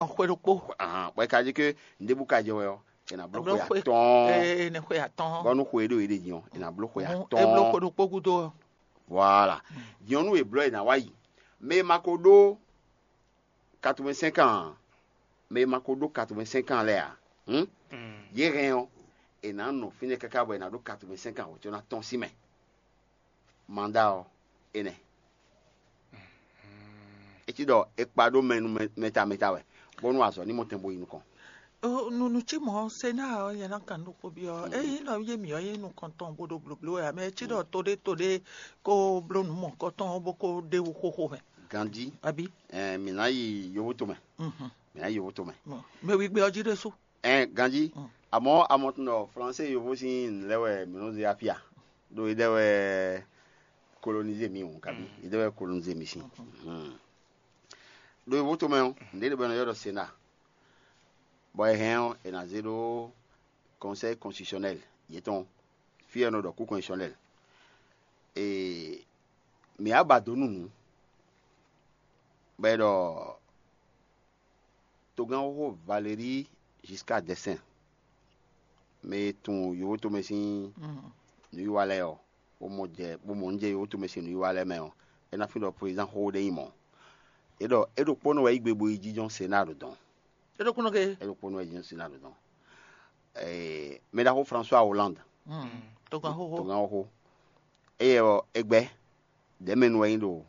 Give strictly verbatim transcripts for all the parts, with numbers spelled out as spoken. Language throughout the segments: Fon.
Xwe ɖokpó. Ahan, bɔ é ka jí ke nǔɖébú ka jɛ wɛ ɔ́, è nǎ bló xwe atɔ́ɔ́n. Ee, ne xwe atɔ́ɔ́n. Bɔ nú xwe e ɖo yě ɖe din ɔ́, è nǎ bló xwe atɔ́ɔ́n. E bló xwe ɖokpó gúdo ɔ́. Voilà. Din ɔ́, nú è blɔ́ è nǎ wá yi. Mɛ e ma ko ɖó quatre-vingt-cinq ans ǎ, mɛ e ma ko ɖó quatre-vingt-cinq ans lɛ́ɛ ǎ, hǔn, yě hɛn ɔ́, è nǎ nɔ fínɛ́ káká bɔ è nǎ ɖó quatre-vingt-cinq ans wǒ có ná tɔ́n sín mɛ. Manda ɔ́, énɛ́. É cí ɖɔ è kpa ɖó mɛ nú mɛ ta mɛ ta wɛ, bónú azɔ̌ ní mɔ tɛn bo yi nukɔn. Nunu cí mɔ̌, Senáa ɔ́ nyɛ ná kan nú xó byɔ́. Ényí nɔ yé mǐ ɔ́ nyí nukɔntɔn bó ɖo blǒbló wɛ ǎ, mɛ cí ɖɔ toɖé toɖé kó bló nǔ mɔ̌kɔtɔn ɔ́ bó kó ɖ'é wú xóxó mɛ. Ganjí, abí? Ɛɛ, mǐ ná yi yovó tomɛ. Mǐ ná yi yovó tomɛ. Mɛ wígbé ɔ́ jí ɖésú. Ɛɛ, ganjí. Amɔ̌ amɔtun ɖɔ Flansé yovó sín nǔ lɛ́ɛ wɛ mǐ nɔ zé afí a? Ɖó é ɖɛ́ wɛ kolonizé mǐ hǔn, kabí é ɖɛ́ wɛ kolonizé mǐ sín. Ɖo yovó tomɛ ɔ́, nǔɖé ɖe bɔ è nɔ ylɔ́ ɖɔ Senáa, bɔ è hɛn ɔ́, è nǎ zé ɖó Conseil constitutionnel yětɔn, fí e è nɔ ɖɔ Cour constitutionnelle. Ee, mǐ wá ba dǒ nú nǔ, bɔ è ɖɔ togán xóxó Valéry Giscard d'Estaing, mɛ e tunwun yovó tomɛ sín nǔwiwa lɛ́ɛ ɔ́, bó mɔ jɛ bó mɔ nǔ jɛ yovó tomɛ sín nǔwiwa lɛ́ɛ mɛ ɔ́, é ná fín ɖɔ prezidán xóxó ɖé nyí mɔ̌. É ɖɔ é ɖokpónɔ wɛ yí gbe bo yi jínjɔ́n Senáa ɖo dɔn. É ɖokpónɔ ke. É ɖokpónɔ wɛ yi jínjɔ́n Senáa ɖo dɔn. Mɛ ɖaxó François Hollande, togán xóxó. Togán xóxó. Éyɛ́ ɔ́, é gbɛ́ ɖɛ̌mɛnu wɛ nyí ɖo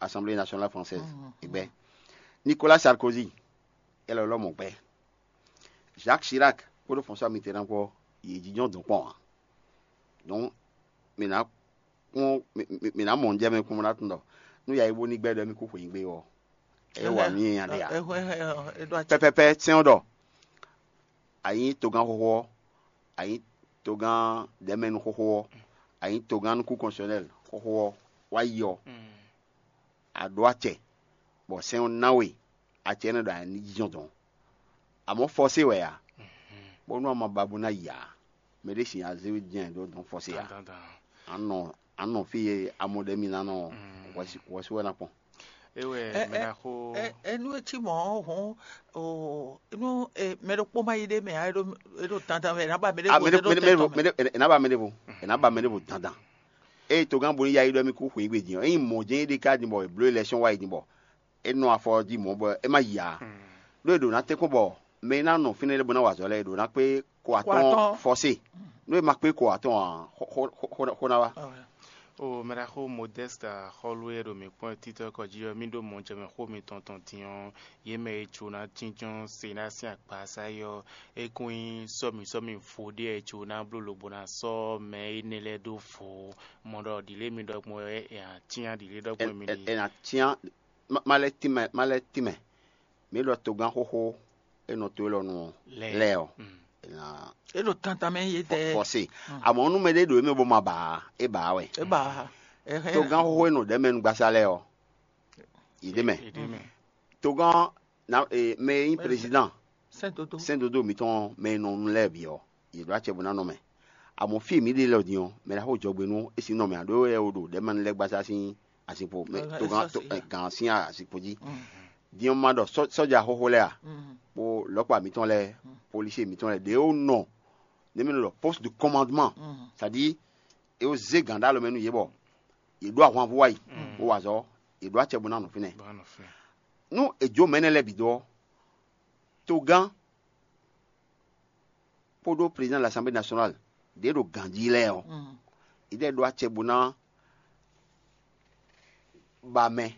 Assemblée nationale française. É gbɛ́. Nicolas Sarkozy, é lɔ lɔmɔ̌ gbɛ́. Jacques Chirac kpódó François Mitterrand kpó, yě jínjɔ́n dɔn kpɔ́n ǎ. Donc, mǐ ná kpɔ́n mǐ ná mɔ nǔ jɛ mɛ kpɔ́n bó ná tunwun ɖɔ nú yǎyí bó ní gbɛ́ ɖɔ émí kú xweyǐgbe ɔ́, é wa nú nyanya ɖe ǎ. Pɛpɛpɛ sɛn ɔ́ ɖɔ a nyǐ togán xóxó ɔ́, a nyǐ togán ɖɛ̌mɛnu xóxó ɔ́, a nyǐ togán nukún kɔnsɔnɛl xóxó ɔ́, wá yi ɔ́, a ɖǒ acɛ, bɔ sɛn ɔ́ ná we acɛ énɛ́ ɖo a ní jínjɔ́n dɔn. Amɔ̌ fɔsé wɛ a, bónú a ma ba bó ná yi ǎ. Mɛ ɖé sin azé jɛ́n ɖó dɔn fɔsé ǎ. A nɔ a nɔ fí e amɔ ɖe mi ná nɔ hwɛsí wɛ ná kpɔn. É wɛ mɛ ná xó. Enu e cí mɔ̌ ɔ́ hɔn, o enu mɛ ɖokpó ma yi ɖe mɛ ǎ, é ɖo dandan wɛ, é ná ba mɛ ɖé vo, é ɖo tɛn tɔn mɛ. È nǎ ba mɛ ɖěvo, è nǎ ba mɛ ɖěvo dandan. Eye togán bo ní yá yi ɖɔ mì kú xweyǐgbe din ɔ́, ényí mɔ̌ jɛ́n é ɖe ká din bɔ è blǒ élection wá yi din bɔ é nɔ afɔ jí mɔ̌ bɔ é má yi ǎ. Ɖó è ɖǒ ná tɛ́nkpɔ́n bɔ mɛ e ná nɔ fínɛ́ lɛ́ɛ bó ná wa azɔ̌ lɛ́ɛ, è ɖǒ ná kpé ko atɔ́ɔ́n fɔsé. Nú è ma kpé ko atɔ́ɔ́n ǎ, xó ná wá. O mɛɖaxó Modeste Axɔ́lú e ɖo mǐ kpɔ́n títɔ́ kɔ jí ɔ́, mì ɖó mɔjɛmɛ xó mitɔn tɔn din ɔ́, yě mɛ e jǒ ná jínjɔ́n se ná sín akpasa é ɔ́, é kún nyí sɔ́mi sɔ́mi vo ɖé e jǒ ná bló lobo ná sɔ́ mɛ énɛ́ lɛ́ɛ ɖó vo. Mɔ ɖɔ ɖǐlé mi ɖɔ gbɔn wɛ è nǎ cyán ɖǐlé ɖɔ gbɔn mi ɖi. È nǎ cyán má lɛ́ tínmɛ má lɛ́ tínmɛ. Mǐ ɖɔ togán xóxó e nɔ to élɔ́ nu ɔ́ lɛ́ɛ ɔ́, è nǎ É ɖo tantan mɛ yě tɛ. Fɔse. Amɔ̌ nú mɛɖé ɖo émɛ bó ma ba ǎ, é ba ǎ wɛ. É ba. Togán xóxó e nɔ ɖɛ̌ mɛ nu gbasá lɛ́ɛ ɔ́, yě ɖ'é mɛ. Togán mɛ e nyí président sɛ́n dodo. Sɛ́n dodo mǐtɔn mɛ e nɔ nu lɛ́ɛ bǐ ɔ́, yě ɖó acɛ bó ná nɔ mɛ. Amɔ̌ fí e mǐ ɖe lɛ ɔ́ din ɔ́, mɛ ɖaxó jɔgbe nú é sín nɔ mɛ ǎ, ɖó é wɛ wo ɖo ɖɛ̌ mɛ nu lɛ́ɛ gbasá sín azinkpo mɛ togán gǎn sín azinkpo jí. Din ɔ́, ma ɖɔ sɔ́ja xóxó lɛ́ɛ a, kpó lɔ̌kpa mǐtɔn lɛ́ɛ, policier mǐtɔn lɛ́ɛ ɖě ó nɔ, nɛ̌ mɛ nɔ ɖɔ poste de commandement, c'est-à-dire é ó zé gǎn ɖó alɔ mɛ nú yě bɔ yě ɖó ahwanvú wá yi, bó wa azɔ̌, yě ɖó acɛ bó ná nɔ fínɛ́. Nú è jó mɛ énɛ́ lɛ́ɛ bǐ dó ɔ́, togán kpódó président de l'Assemblée nationale ɖě ɖo ganjí lɛ́ɛ ɔ́, yě ɖɛ́ ɖó acɛ bó ná ba mɛ,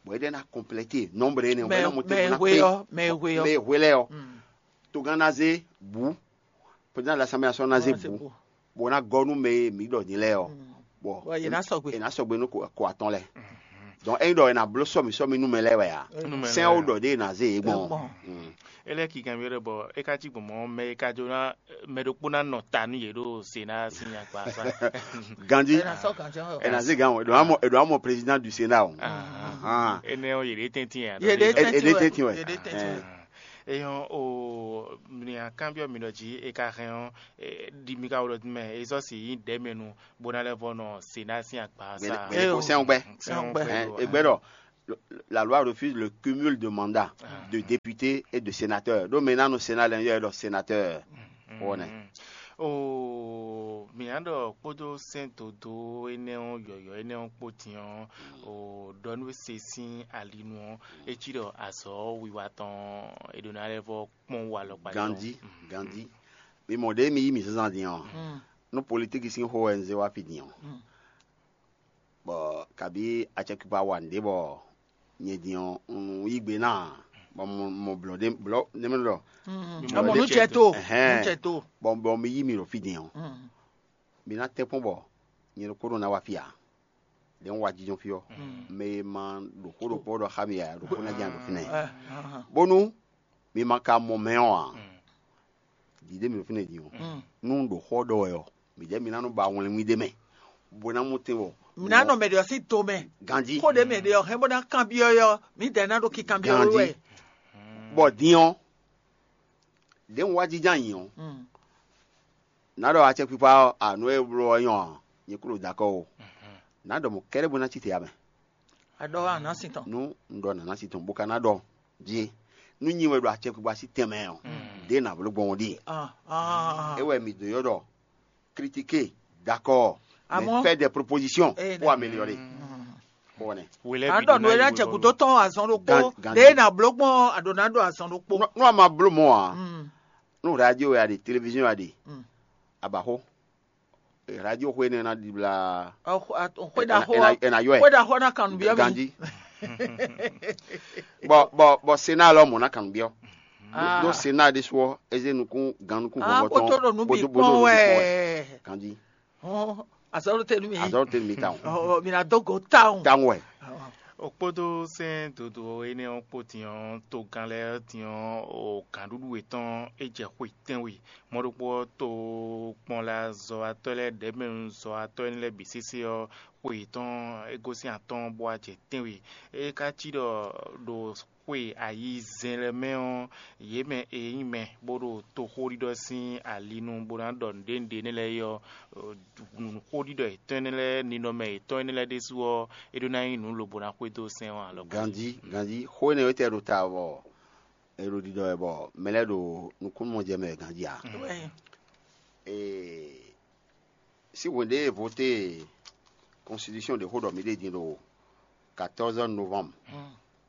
bɔ é ɖɛ́ ná compléter nombre énɛ́ ɔ́, bɔ é ná monter bó ná kpé mɛ e hwe ɔ́, mɛ e hwe lɛ́ɛ ɔ́, togán ná zé bǔ, président de l'Assemblée nationale ná zé bǔ, bó ná gɔ́ nú mɛ e mǐ ɖɔ din lɛ́ɛ ɔ́, bɔ è nǎ sɔgbe, è nǎ sɔgbe nú ko atɔn lɛ́ɛ. Donc ényí ɖɔ è nǎ bló sɔ́mi sɔ́mi nú mɛ lɛ́ɛ wɛ a, sɛ́n ó ɖɔ ɖě è nǎ zé yě gbɔn. É lɛ́ kigan mì ɖɔ bɔ é ka cí gbɔn mɔ̌ mɛ e ka jló ná mɛ ɖokpó ná nɔ ta nú yě ɖo se ná sín akpa sá. Ganjí, è nǎ zé gǎn o, è ɖǒ ná mɔ président du Sénat o. Énɛ́ ɔ́ yě ɖě tɛ́ntin ǎ. Yě ɖě tɛ́ntin wɛ. Eyɔn o mìa kanbyɔ mi ɖɔ jí e ka hɛn ɔ́, ɖi mi ka wɔ ɖɔ mɛ e zɔ si yí ɖɛ mɛ nu bó ná lɛ vɔ nɔ se ná sín akpa sá. Gbɛdɛ kó sɛn gbɛ. Sɛn gbɛ. Egbɛ ɖɔ la loi refuse le cumul de mandat de député et de sénateur. Donc maintenant, nos sénat, les gens, sénateur. Voilà. O mǐ ná ɖɔ kpódó sɛ́n dǒdó énɛ́ ɔ́, yɔ̌yɔ́ énɛ́ ɔ́ kpó din ɔ́, o ɖɔ nú se sín ali nu ɔ́, é cí ɖɔ azɔ̌ wiwa tɔn è ɖǒ ná lɛ́ vɔ kpɔ́n wú alɔkpa. Gandhi, Gandhi. Mi mɔ ɖě mi yí mǐ zínzán din ɔ́, nú politiki sín xó wɛ un zé wá fí din ɔ́, bɔ kabí acɛkpikpa wa nǔɖé bɔ nyɛ din ɔ́, un yí gbe ná, bɔ mɔ blɔ̌ ɖé blɔ̌ nɛ́ mɛ ɖɔ Amɔ nú cɛ to, nú cɛ to. Bɔ bɔ mi yí mi ɖo fí din ɔ́, mi ná tɛ́nkpɔ́n bɔ nyɛ ɖokpónɔ ná wá fí ǎ. Ɖě un wá jínjɔ́n fí ɔ́, mɛ e ma ɖo xó ɖokpó ɖɔ xá mi ǎ, ɖokpó ná jɛ ɖo fínɛ́. Bónú mi ma ka mɔ mɛ ɔ́ ǎ, dǐdé mi ɖo fínɛ́ din ɔ́, nú un ɖo xó ɔ́ ɖɔ wɛ ɔ́, mǐdɛɛ mi ná nɔ ba wlɛnwí ɖé mɛ, bó ná mɔ tɛn wɔ. Mǐ ná nɔ mɛ ɖě ɔ́ sín to mɛ. Ganjí. Xó ɖě mɛ ɖě ɔ́ hɛn bó ná kanbyɔ́ ɔ́, mǐdɛɛ ná ɖo kinkanbyɔ́ wɛ. Ganjí. Bɔ din ɔ́, ɖěe un wá jínjɔ́n ayǐ ɔ́, nǎ ɖɔ acɛkpikpa ɔ́, anǔ e bló ɔ́ nyɔ́ ǎ, nyɛ kúɖo dakɔ́ o. Nǎ ɖɔ mɔ̌ kɛ́ɖɛ́ bó ná cí te ǎ mɛ. A ɖɔ wá nǎ sin tɔn. Nú un ɖɔ nǎ ná sin tɔn, bo ka ná ɖɔ jí, nú nyi wɛ ɖo acɛkpikpa sín tɛnmɛ ɔ́, ɖěe nǎ bló gbɔn ɔ́ ɖíe. Ah, ah, É wɛ mǐ dó ylɔ́ ɖɔ critiquer, d'accord, mais Amɔ̌- faire des propositions Eh, pour améliorer. Xó nɛ. A ɖɔ nǔ e ná jɛ gǔdo tɔn azɔn ɖokpó. Gan- gan- Ɖě ná bló gbɔn a ɖǒ ná ɖo azɔn ɖokpó. Nú a ma bló mɔ̌ ǎ, Mm. nú radio wɛ a ɖe, télévision wɛ a ɖe, Mm. a ba xó. Radio xó énɛ́ ná ɖibla. Xwé ɖaxó Ɛ na yɔ ɛ. Xwé ɖaxó ná kan nǔbyɔ́ mi. Ganjí. Bɔ bɔ bɔ Sénat lɔ mɔ̌ ná kan nǔbyɔ́. Ah. Ɖó Sénat ɖésú ɔ́, é zé nukún gan nukún Ah, vɔvɔ kó tɔn tó ɖo nǔ bǐ bó- bó- kpɔn bó- wɛ. Ganjí. Azɔ́ ló tɛ nú mi. Azɔ́ tɛ mi ta o. Ɔ, mi ná dó go tawun. Tawun wɛ. O kpódó sɛ́n dodo énɛ́ ɔ́ kpó din ɔ́, togán lɛ́ɛ din ɔ́, o gǎnɖuɖu yětɔn é jɛ xwe tɛ́nwe. Mɔ̌ ɖokpó ɔ́, tokpɔnlazɔ́watɔ́ lɛ́ɛ ɖɛ̌mɛnúzɔ́watɔ́ énɛ́ lɛ́ɛ bǐ sésé ɔ́, xwe yětɔn é gosín atɔ́ɔ́n bó wá jɛ tɛ́nwe. É ka cí ɖɔ ɖo xwe ayizɛ́n lɛ́ɛ mɛ ɔ́, yě mɛ e nyí mɛ bó ɖo toxóɖiɖɔ sín ali nu bó ná ɖɔ nǔɖé nǔɖé énɛ́ lɛ́ɛ é ɔ́, nǔxóɖiɖɔ yětɔn énɛ́ lɛ́ɛ, ninɔmɛ yětɔn énɛ́ lɛ́ɛ ɖésú ɔ́, é ɖó ná nyí nǔ lobo ná xwedó sɛn ɔ́ alɔ. Ganjí, ganjí, xó énɛ́ wɛ tɛ ɖo ta bɔ è ɖo ɖiɖɔ wɛ bɔ mɛ lɛ́ɛ ɖo nukúnnú mɔ jɛ mɛ wɛ ganjí ǎ. Ouais. Ee, si hwɛn ɖé voté constitution ɖě xó ɖɔ mǐ ɖe din ɖo quatorze novembre,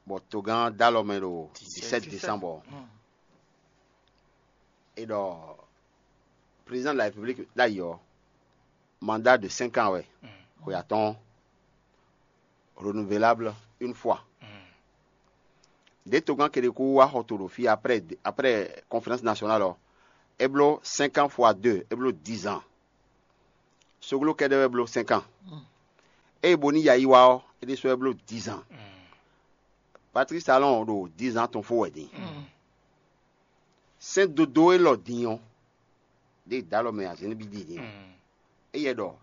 bɔ togán dó alɔ mɛ ɖo dix-sept décembre. É ɖɔ président de la république ɖ'ayǐ ɔ́, mandat de cinq ans wɛ, xwe atɔ́ɔ́n, renouvelable une fois. Ɖě togán Kérékou wá xɔ to ɖo fí après après conférence nationale ɔ́, é bló cinq ans fois deux, é bló dix ans. Soglo kɛ́ɖɛ́ wɛ bló cinq ans. Ée Boni yá yi wá ɔ́, é ɖésú wɛ bló dix ans. Patrice Talon ɖo dix ans tɔn fó wɛ din. Sɛ́n dodó élɔ́ din ɔ́, ɖě dó alɔ mɛ azǐn nú bí din din. Éyɛ́ ɖɔ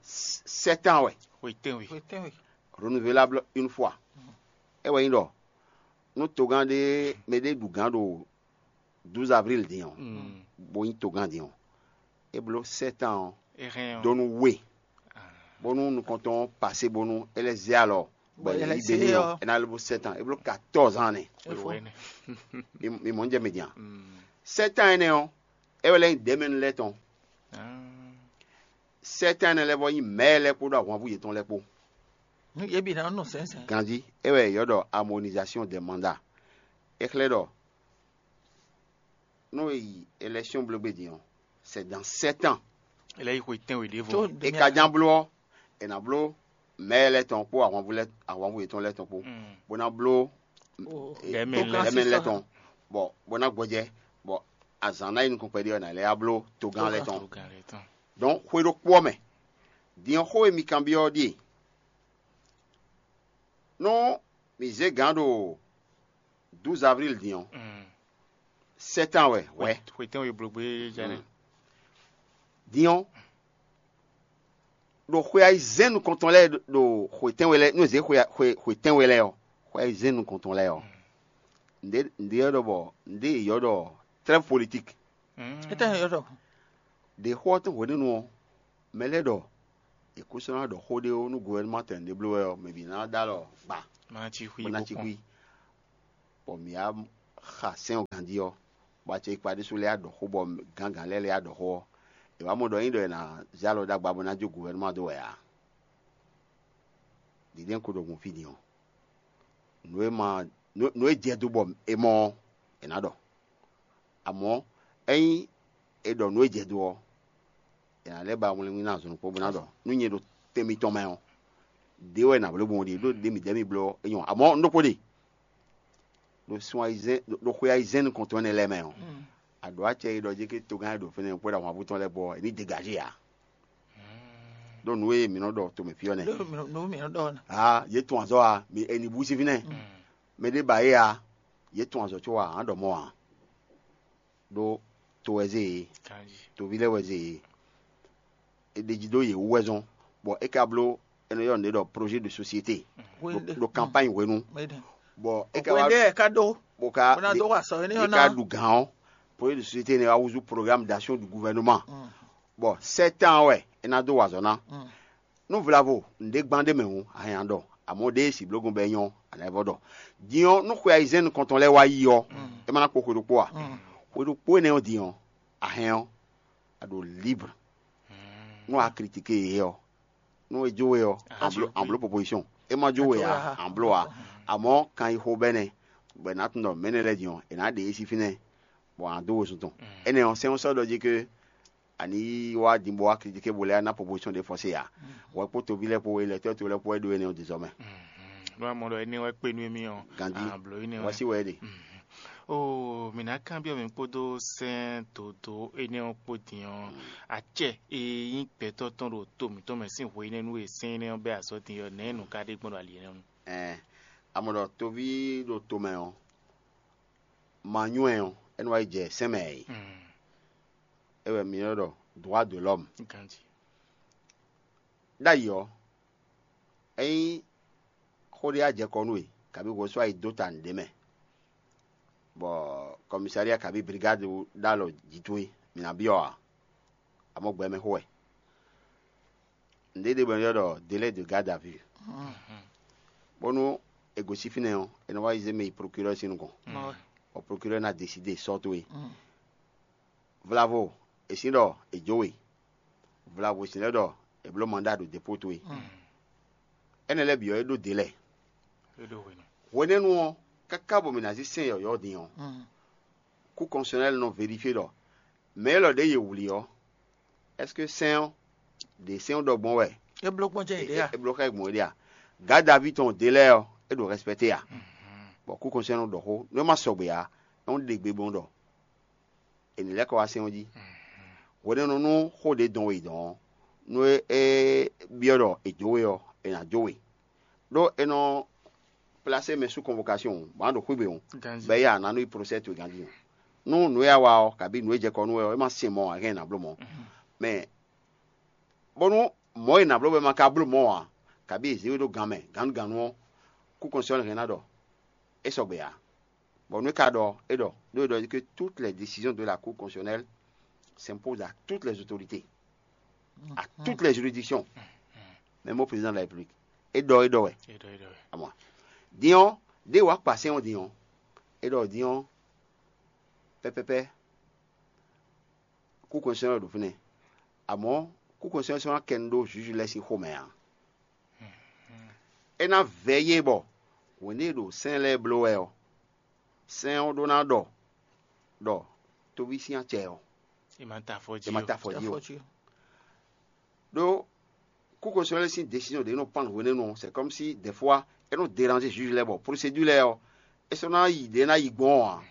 sept ans wɛ, Xwe tɛ́nwe. Xwe tɛ́nwe. Renouvelable une fois. É wɛ nyí ɖɔ nú togán ɖé, mɛ ɖé ɖu gǎn ɖo douze avril din ɔ́, bó nyí togán din ɔ́, é bló sept ans ɔ́, É hɛn ɔ́. Dó nú we, bónú nukɔntɔn ɔ́ pasé bónú é lɛ́ zé alɔ, bɔ Bɔ é é lɛ́ yí zé Beni ɔ́, ɔ́. É ná lɛ́ bló sept ans, é bló quatorze ans nɛ. Efo. Wɛ nɛ. Mi mi mɔ ń jɛ mɛ din a? Mm. Sept ans énɛ́ ɔ́, é wɛ lɛ́ nyí dɛ̌mɛnu lɛ́ɛ tɔn. Ah. Sept ans énɛ́ lɛ́ɛ vɔ nyí mɛ̌ lɛ́ɛ kpódó ahwanvú yětɔn lɛ́ɛ kpó. Nu yě bǐ ná nɔ sɛnsɛn. Ganjí, é wɛ è ylɔ́ ɖɔ harmonisation des mandats. É xlɛ́ ɖɔ nú è yi élection bló gbé din ɔ́, c'est dans sept ans. Ele yi xwe tɛ́nwe ɖěvo. Tó É ka ján bló ɔ́, è nǎ bló mɛ̌ lɛ́ɛ tɔn kpó ahwanvú lɛ́ɛ ahwanvú yětɔn lɛ́ɛ tɔn kpó, Mm. bó ná bló o- Dɛ̌mɛnu Togán lɛ́ɛ. dɛ̌mɛnu lɛ́ɛ sísá. Tɔn, bɔ bó ná gbɔjɛ́, bɔ azǎn ná yi nukɔn kpɛɖé ɔ́, è nǎ lɛ́ yá bló togán lɛ́ɛ tɔn. Togán lɛ́ɛ tɔn. Donc xwé ɖokpó ɔ́ mɛ, din ɔ́ xó e mi kanbyɔ́ ɔ́ ɖíe: nú mǐ zé gǎn ɖo douze avril din ɔ́, Mm. sept ans wɛ wɛ. Xwe tɛ́nwe bló gbé jánɛ. Din ɔ́, ɖo xwe ayizɛ́n nukɔntɔn lɛ́ɛ ɖo xwe tɛ́nwe lɛ́ɛ, nú è zě xwe xwe xwe tɛ́nwe lɛ́ɛ ɔ́, xwe ayizɛ́n nukɔntɔn lɛ́ɛ ɔ́, ǹdě ǹdě ɔ́ ɖɔ bɔ ǹdě è ylɔ́ ɖɔ trêve politique. Mm. Étɛ́ yɔ ɖɔ. Ɖě xó ɔ́ tɔn hwenu ɔ́, mɛ lɛ́ɛ ɖɔ è kó sɔ́ ná ɖɔ xó ɖé ó nú gouvernement tɔn ɖé bló wɛ ɔ́, mɛ bǐ ná ɖó alɔ gba. Bó ná cí xwí bó ná cí kpɔ́n. Xwí. Bɔ mǐ wá xa sɛ́n ɔ́ ganjí ɔ́, bɔ acɛkpa ɖésú lɛ́ɛ wá ɖɔ xó, bɔ gǎngǎn lɛ́ɛ lɛ́ɛ wá ɖɔ xó ɔ́, è wǎ mɔ ɖɔ ényí ɖɔ è nǎ zé alɔ ɖó agba bó ná jó guvɛnúma dó wɛ ǎ. Ɖiɖɛ́ ko ɖo gun fí din ɔ́, nǔ e ma nǔ e jɛ dó bɔ è mɔ ɔ́, è nǎ ɖɔ. Amɔ̌, ényí è ɖɔ nǔ e jɛ dó ɔ́, è nǎ lɛ́ ba wlɛngbí ná azɔn ɖokpó bó ná ɖɔ nú nyɛ ɖo tɛn mitɔn mɛ ɔ́, ɖě wɛ nǎ bló gbɔn ɖe ɖó ɖě midɛɛ mi bló ɔ́, é nyɔ́. Amɔ̌, un ɖokpó ɖe ɖo sun ayizɛ́n ɖo xwe ayizɛ́n nukɔntɔn énɛ́ lɛ́ɛ mɛ ɔ́, a ɖǒ acɛ e ɖɔ jí ké togán e ɖo fínɛ́ kpódó ahwanvú tɔn lɛ́ɛ kpó ɔ́, è ní degazé ǎ. Ɖó nǔ e mǐ nɔ ɖɔ tomɛ fí ɔ́ nɛ́. Nǔ mǐ nɔ ɖɔ ɔ́ nɛ. Aa, yě tun azɔ̌ a, mi è nǐ bú sí fínɛ́. Mɛ ɖé ba é a, yě tun azɔ̌ có a, a nǎ ɖɔ mɔ̌ ǎ. Ɖó to wɛ zé e, toví lɛ́ɛ wɛ zé e. È ɖeji dó yě wú wɛ zɔ́n, bɔ é ka bló, è nɔ ylɔ́ nǔɖé ɖɔ projet de société. Hwe ɖé. Ɖo campagne hwenu. Hwe ɖé. Bɔ é ka Hwe wá ɖé ká ɖó. Bó ka Bó ná dó wa sɔ énɛ́ yě ɔ́ ká ná. Ɖu gǎn ɔ́, projet de société ne wá húzú programme d'action du gouvernement. Bɔ sept ans wɛ é ná dó wa azɔ̌ ná. Nú vlavo nǔɖé gbán ɖé mɛ hǔn, a hɛn a ɖɔ, amɔ̌ ɖěe siblógun bɔ é nyɔ́, a nǎ yi vɔ ɖɔ. Din ɔ́, nú xwe ayizɛ́n nukɔntɔn lɛ́ɛ wá yi ɔ́, é ma ná kpo xwe ɖokpó a? Xwe ɖokpó énɛ́ ɔ́ din ɔ́, a hɛn ɔ́, a ɖo libre. Nú a kritike yě ɔ́, nú é jó we ɔ́, an bló proposition. É ma jó we a, an bló a. Amɔ̌ kan yi xo bɛ́nɛ, bɔ è nǎ tunwun ɖɔ mɛ̌ nɛ́ lɛ́ɛ din ɔ́, è nǎ ɖe yě sín fínɛ́, bɔ a nǎ dó wezun tɔn. Énɛ́ ɔ́, sɛ́n ɔ́ sɔ́ ɖɔ jí ké a ní yi wá din bó wá kritike bó lɛ́ ná proposition ɖé fɔ́sé ǎ. Hwɛ kpó toví lɛ́ɛ kpó, elɛtɔ́ toví lɛ́ɛ kpó wɛ ɖó énɛ́ ɔ́ din zɔ mɛ. Nú a mɔ ɖɔ énɛ́ wɛ kpé nú émí ɔ́, Gandhi, a blǒ énɛ́ wɛ. Wá sí wɛ é ɖe. Oo, mǐ ná kanbyɔ́ mi kpódó sɛ́n dǒdó énɛ́ ɔ́ kpó din ɔ́, acɛ e nyí gbɛtɔ́ tɔn ɖo to mǐtɔn mɛ sín hwe énɛ́ nú e sɛ́n énɛ́ ɔ́ bɛ́ azɔ̌ din ɔ́, nɛ̌ nǔ ka ɖe gbɔn ɖo ali énɛ́ nu? Ɛɛ, a mɔ ɖɔ toví ɖo tomɛ ɔ́, ma nywɛ́ ɔ́, é nɔ wá yi jɛ sɛ́n mɛ ǎ é. É wɛ mǐ nɔ ɖɔ droit de l'homme. Ganji. Ɖ'ayǐ ɔ́, ényí xó ɖé wá jɛ kɔ nú we, kabǐ hwesú ayi dó ta nǔɖé mɛ, bɔ kɔmisalia kabǐ brigade ɖó alɔ jǐ towe, mǐ ná byɔ́ ǎ. Amɔ̌ gbɛ mɛ xó wɛ. Nǔɖé ɖe bɔ è nɔ ylɔ́ ɖɔ délai de garde à vue. Bónú è gosín fínɛ́ ɔ́, è nɔ wá yi zé mɛ yi prokirɔ́ɔ sín nukɔn, bɔ prokirɔ́ɔ ná deside sɔ́ towe. Vlavo è sǐ ɖɔ è jó we, vlavo è sǐ lɛ́ ɖɔ è bló mandá ɖo depóo towe. Énɛ́ lɛ́ɛ bǐ ɔ́, é ɖó dě lɛ́ɛ. Hwenɛ́nu ɔ́, káká bɔ mǐ ná zí sɛ́n yɔ̌yɔ́ din ɔ́, kú kɔnsɔnɛ́li nɔ vérifié ɖɔ mɛ élɔ́ ɖě yě wlí ɔ́, ɛ́seke sɛ́n ɔ́ ɖě sɛ́n ɔ́ ɖɔ gbɔn wɛ? É bló gbɔn jɛ yě ɖě a? É bló xá gbɔn yě ɖě a? Gǎ Davíd tɔn ɖě lɛ́ɛ ɔ́, é ɖo rɛspɛ́té a? Bɔ kú kɔnsɔnɛ́li nɔ ɖɔ xó, nú é ma sɔgbe ǎ, é nɔ ɖe gbe gbɔn ɖɔ è nǐ lɛ́ kɔ wá sɛ́n ɔ́ jí. Hwenɛ́nu nú xó ɖě dɔn we yi dɔn ɔ́, nú é é byɔ́ ɖɔ è jó we ɔ́, è nǎ jó we. Ɖó è nɔ plasé mɛ sú convocation bɔ a ɖo xwígbe o, bɔ é ya ná nú yi procès towe ganjí. Nú nǔ e a wa ɔ́, kabí nǔ e jɛ kɔ nú we ɔ́, é ma sin mɔ ǎ, hɛn è nǎ bló mɔ̌. Mɛ bónú mɔ̌ e è nǎ bló wɛ ma ka bló mɔ̌ ǎ, kabí è zě we ɖó gan mɛ gǎnnugǎnnu ɔ́, kú kɔnsɔ́ hɛn ná ɖɔ é sɔgbe ǎ. Bɔ nú é ka ɖɔ é ɖɔ, ɖó é ɖɔ que toutes les décisions de la Cour constitutionnelle s'imposent à toutes les autorités, à toutes les juridictions, même au président de la République. É ɖɔ é ɖɔ wɛ. Amɔ din ɔ́, ɖé wàá kpa sɛ́n ɔ́ din ɔ́, é ɖɔ din ɔ́, pɛpɛpɛ, kú kɔnsɛ́n ɔ́ ɖo fínɛ́. Amɔ̌, kú kɔnsɛ́n ɔ́ sɔ́ ná kɛ nu ɖó juge lɛ́ɛ sín xomɛ ǎ. É ná vɛ̌ yé bɔ hwěndé e ɖo sɛ́n lɛ́ɛ bló wɛ ɔ́, sɛ́n ɔ́ ɖó ná ɖɔ ɖɔ toví sín acɛ ɔ́, È ma ta afɔ jí è ma o. Ta afɔ jí o. Ɖó kú kɔnsɛ́n lɛ́ɛ sín décision ɖě nɔ pan hwenɛ́nu ɔ́, c'est comme si des fois é nɔ déranger juge lɛ́ɛ bɔ procédure lɛ́ɛ ɔ́, é sɔ́ ná yi ɖě ná yi gbɔn ɔ́ ǎ.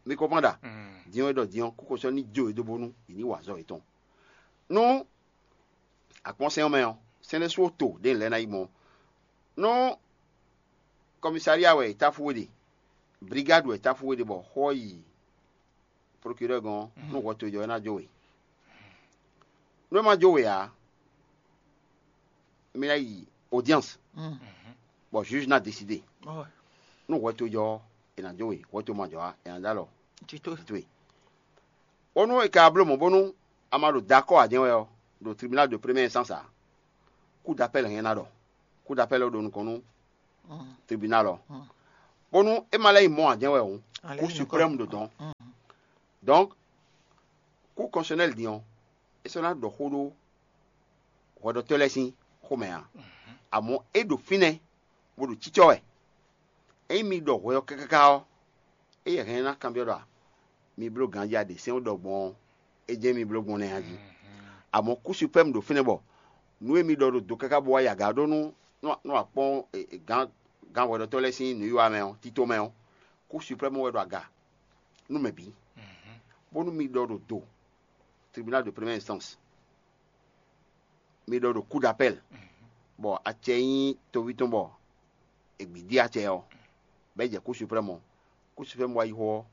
Mi comprendre ɖa? Din ɔ́ é ɖɔ din ɔ́, kú kɔnsɛ́n ní jó e dó bónú è ní wa azɔ̌ yětɔn. Nú akpɔ́nsɛn ɔ́ mɛ ɔ́, sɛ́n ɖésú to ɖě lɛ́ɛ ná yi gbɔn. Nú kɔmisalia wɛ è táfú we ɖe, brigade wɛ è táfú we ɖe bɔ xó ɔ́ yi procureur gɔ́n ɔ́, nú hwɛ towe jɔ é ná jó we. Nú é ma jó we ǎ, mi ná yi audience, bɔ juge ná décider. Nú hwɛ towe jɔ ɔ́, è nǎ jó we, hwɛ towe ma jɔ ǎ, è nǎ dó alɔ. Jǐ Towe. Bónú è ka bló mɔ̌ bónú a ma ɖo d'accord ǎ jɛ́n wɛ ɔ́, ɖo tribunal de première instance ǎ, cour d'appel hɛn ná ɖɔ. Cour d'appel ɔ́ ɖo nukɔn nú tribunal ɔ́, bónú é ma lɛ́ nyí mɔ̌ ǎ jɛ́n wɛ hǔn, Cour suprême ɖo dɔn. Donc, Cour constitutionnelle din ɔ́, é sɔ́ ná ɖɔ xó ɖó hwɛɖɔtɔ́ lɛ́ɛ sín xomɛ ǎ. Amɔ̌ é ɖo fínɛ́ bó ɖo cícɔ́ wɛ. Ényí mi ɖɔ hwɛ ɔ́ káká ɔ́, éyɛ́ hɛn ná kanbyɔ́ ɖɔ mi bló ganjí a ɖe sɛ́n ɖɔ gbɔn ɔ́, é jɛ́n mi bló gbɔn nɛ́ a jí. Amɔ̌ Cour suprême ɖo fínɛ́ bɔ nǔ e mi ɖɔ ɖo do káká bó wá yi aga ɖó nú nú akpɔ́n gǎn gǎn hwɛɖɔtɔ́ lɛ́ɛ sín nǔwiwa mɛ ɔ́, tito mɛ ɔ́, Cour suprême wɛ ɖo aga nú mɛ bǐ, bónú mi ɖɔ ɖo do tribunal de première instance, mi ɖɔ ɖo cour d'appel, bɔ acɛ nyí toví tɔn bɔ è gbǐ dí acɛ ɔ́, bɔ é jɛ Cour suprême ɔ́, Cour suprême wá yi xó ɔ́,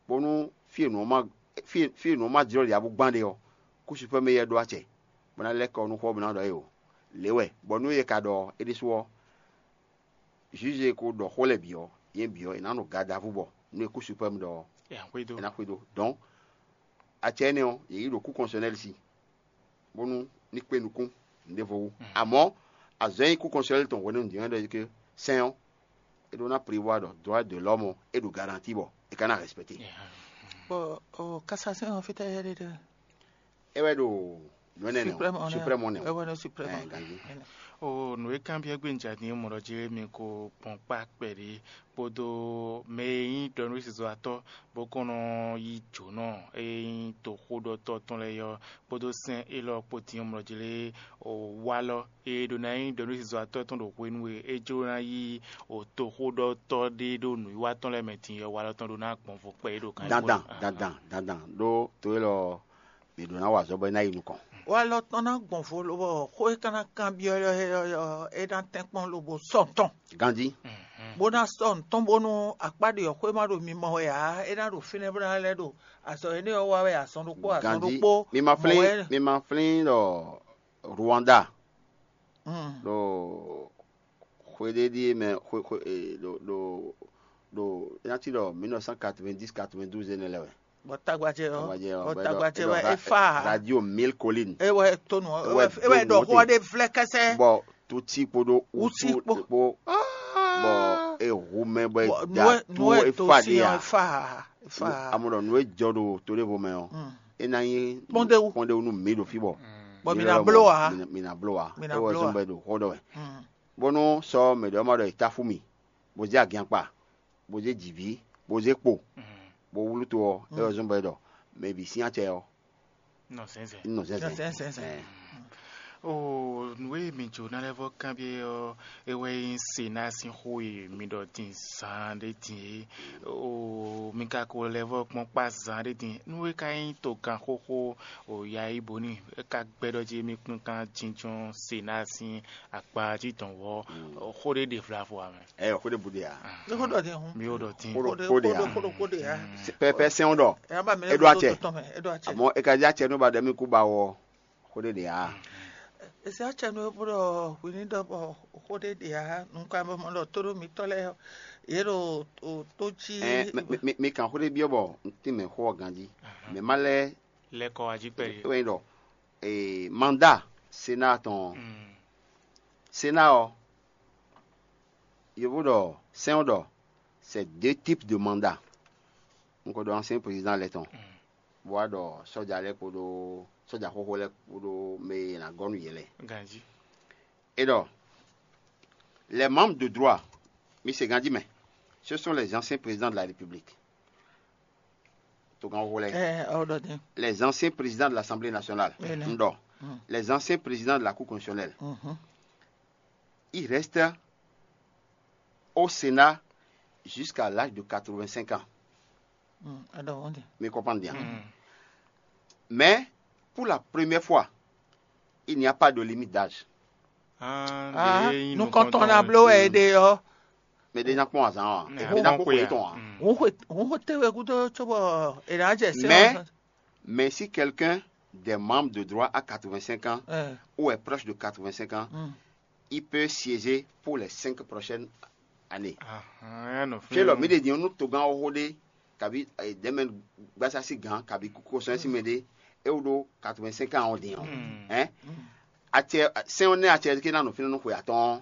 bónú fí e nǔ ɔ́ ma fí e fí e nǔ ɔ́ ma jlɔ́ ɖě ǎ bó gbán ɖe ɔ́, Cour suprême éyɛ́ ɖó acɛ, bó ná lɛ́ kɔ nú xó ɔ́ bó ná ɖɔ éeǒ. Lě wɛ, bɔ nú é ka ɖɔ é ɖésú ɔ́, juge e ko ɖɔ xó lɛ́ɛ bǐ ɔ́, yě bǐ ɔ́, è nǎ nɔ gadavú bɔ nú e Cour suprême ɖɔ ɔ́, Ɛ xwedó. È nǎ xwedó. Donc, acɛ énɛ́ ɔ́, yě yi ɖo Cour constitutionnelle sí, bónú ní kpé nukún nǔɖévo wú. Amɔ̌, azɔ̌ e nyí Cour constitutionnelle tɔn hwenu din ɔ́ ɖɔ é ɖɔ sɛ́n ɔ́, é ɖó ná prévoir ɖɔ droit de l'homme ɔ́, é ɖo garantie bɔ é ka ná respecté. Bɔ o cassation ɔ́ fítɛ́ yɛ ɖe ɖe? É wɛ ɖo nǔ énɛ́ nɛ́ Suprême ɔ́, hɔn nɛ́ suprême ɔ́ nɛ́ é hɔn. Wɛ ɖo suprême Ɛ, ɔ́. Ganjí. Ɔ, nǔ e kanbyɔ́ gbé un jɛ din mɔ ɖɔ jí mi ko kpɔn kpá kpɛɖé kpódó mɛ e nyí ɖɔnúsizɔ́watɔ́ bó kɔn nɔ yí jǒnɔ e nyí toxóɖɔtɔ́ tɔn lɛ́ɛ ɔ́ kpódó sɛ́n élɔ́ kpó din ɔ́ mɔ ɖɔ jí lé o walɔ e ɖo ná nyí ɖɔnúsizɔ́watɔ́ tɔn ɖo hwenu e é jló ná yí o toxóɖɔtɔ́ ɖé ɖó nǔwiwa tɔn lɛ́ɛ mɛ din ɔ́, walɔ tɔn ɖó ná gbɔn vo kpɛ é ɖo kan dandan dandan dandan ɖó to élɔ́ mǐ ɖó ná wa azɔ̌ bɔ é ná yi nukɔn. Walɔ tɔn ná gbɔn vo lobɔ xó e ka ná kanbyɔ́ é ɔ́, é ná tɛ́nkpɔ́n lobo sɔ tɔn. Ganjí. Bó ná sɔ nǔtɔn bónú akpá ɖě ɔ́ xwé ma ɖo mi mɔ wɛ ǎ, é ná ɖo fínɛ́ bó ná lɛ́ ɖo azɔ̌ énɛ́ ɔ́ wa wɛ azɔn ɖokpó azɔn Ganjí. Ɖokpó Mi ma mɔ flín wɛ. Mi ma flín ɖɔ Rwanda Mm. ɖo xwe ɖé ɖíe mɛ xwe xwe e, ɖo ɖo ɖo é ná cí ɖɔ mille neuf cent quatre-vingt-dix quatre-vingt-douze énɛ́ lɛ́ɛ wɛ. Bɔ tagbajɛ ɔ Tagbajɛ ɔ, bɔ bɔ é ɖɔ- tagbajɛ é ɖɔ wɛ ra- efa radio mille collines. Ewɛ tonu Ewɛ ewɛ tonu ɖɔ ɔtí. Xɔ ɖe vlɛ kɛsɛ. Bɔ tutsi kpoɖo Utsi utu kpo. Kpo bɔ ehu mɛ bɔ Bɔ eda nue to nue to efa si ɖe ɔ a. Efa efa. Amɔ ɖɔ nú e jɔ ɖo toɖevo mɛ ɔ, Mm. E ná nyí Kpɔ́ndéwu. Kpɔ́ndéwu nú mǐ ɖo fí bɔ Bɔ mi ná bló a. Mi ná bló a. Mi ná Ewɔ bló zɔn a. Bɔ e ɖo xɔ ɖɔ wɛ. Mm. Bónú sɔ mɛ ɖɔ ma ɖɔ e ta fú mi, bó zé agiankpa, bó zé jǐví, bó zé kpo, bó wlú to ɔ́, é wɛ zɔ́n bɔ é ɖɔ mɛ bǐ sín acɛ ɔ́, Nɔ zɛ́nzɛn. Nɔ zɛ́nzɛn. Nɔ zɛ́nzɛn. Ɛɛ. O nǔ e mi jǒ ná lɛ́ vɔ́ kanbyɔ́ ɔ́, é wɛ nyí Sena sín xó e mi ɖɔ din zaan ɖé din é. O mi ka ko lɛ́ vɔ́ kpɔ́n kpá zaan ɖé din. Nú é ka nyí togán xóxó o ya yí bó ní é ka gbɛ́ ɖɔ jí mi kún kan jínjɔ́n Sena sín akpa jí dɔn wɔ xó ɖé ɖe vlavo ame. Ɛ xó ɖé bu ɖe ya. Ní kó ɖɔ dín hun. Mi ó ɖɔ dín. Kó ɖɔ kó ɖe ya. Kó ɖɔ kó ɖe ya. Pɛpɛ sɛn ɖɔ. Ɛ aba mi E ɖo acɛ. Tɔn mɛ, e ɖo acɛ. Àmọ́ e ka jẹ́ acɛ ní ba ɖɛ mí kú ba wɔ xó ɖé ɖe ya. Èsì acɛ ní bó ɖɔ hwi ní ɖɔ bɔ xó ɖé ɖe ya. Nǹkan bɔ mɔ ɖɔ tó ɖó mi tɔ lɛ yé ɖo tó jí. Ɛ mi mi mi kan xó ɖé biɔ bɔ n tí mɛ xó ɔ ganjí. Mɛ má lɛ Lɛkɔ ají kpɛ é. Wɛ ɖɔ ee manda Sena tɔn. Sena ɔ, yovo ɖɔ sɛn ɔ ɖɔ c'est deux types de mandat. N ko ɖɔ ancien président lɛ tɔn. Bó wá ɖɔ sɔ́ja lɛ́ɛ kpódó sɔ́ja xóxó lɛ́ɛ kpódó mɛ e ná gɔ́ nú yě lɛ́ɛ. Ganjí. Et donc, les membres de droit, mi se ganjí mɛ, ce sont les anciens présidents de la République. Togán xóxó lɛ́ɛ. Ɛ ɔ ɖɔ dín. Les anciens présidents de l'Assemblée nationale. Ɛ nɛ. N ɖɔ. Les anciens présidents de la Cour constitutionnelle. Mhm. Ils restent au Sénat jusqu'à l'âge de quatre-vingt-cinq ans. Mm, alors, on dit. Mi comprendre bien. Mais pour la première fois, il n'y a pas de limite d'âge. Ah, nu kɔntɔn na bló wɛ ɖe ɔ. Mais déjà kpɔn azan wa. Mais déjà kpɔn kwe tɔn wa. Ŋun xwe ŋun xwe te wɛ kudo tso bɔ e na jɛ se. Mais si quelqu'un des membres de droit à quatre-vingt-cinq ans ou est proche de quatre-vingt-cinq ans, il peut siéger pour les cinq prochaines années. Fie lɔ mi ɖe din nu togán xoxo ɖe kabi dɛmɛ gbasa si gan kabi kosɔn si mɛ ɖe e wo ɖo quatre-vingt-cinq ans o din o. Hein? Acɛ sɛn ne acɛ ke na nɔ fínɛ nɔ xwe atɔn.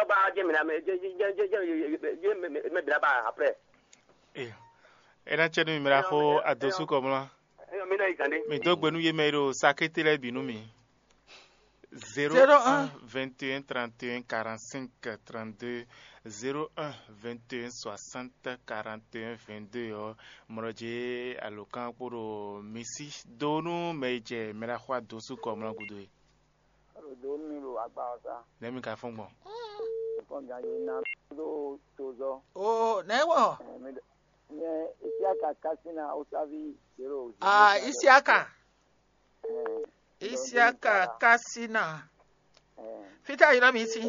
sɔ́ ba jɛ mǐ ná mɛ jɛ jɛ jɛ jɛ jɛ jɛ mɛ mɛ bǐ ná ba après. Ee, é ná cɛ nú mi mla xó adosúkɔ mlá. Eyɔ mi ná yi gǎn ɖé. Mi dó gbe nú yé mɛ e ɖo sakété lɛ́ɛ bǐ nú mi. Zéro un, vingt et un, trente et un, quarante-cinq, trente-deux, zéro un, vingt et un, soixante, quarante et un, vingt-deux ɔ́, mlɔjé alǒkan kpó ɖo mi sí dó nú mɛ e jɛ mɛ ɖaxó adosúkɔ mlá gúdo é. Ɖo dó nú mi ɖo agba ɔ́ sá. Nɛ̌ mi ka fɔ́n gbɔn? Fɔ́n gan yě ná ɖó tozɔ. O nɛ̌ wɔ? Ɛ, mi ɖe- Nyɛ Isiaka Kasina Osavi zéro. Ah, Isiaka. Isiaka Kasina. Fítɛ́ ylɔ́ mi sín?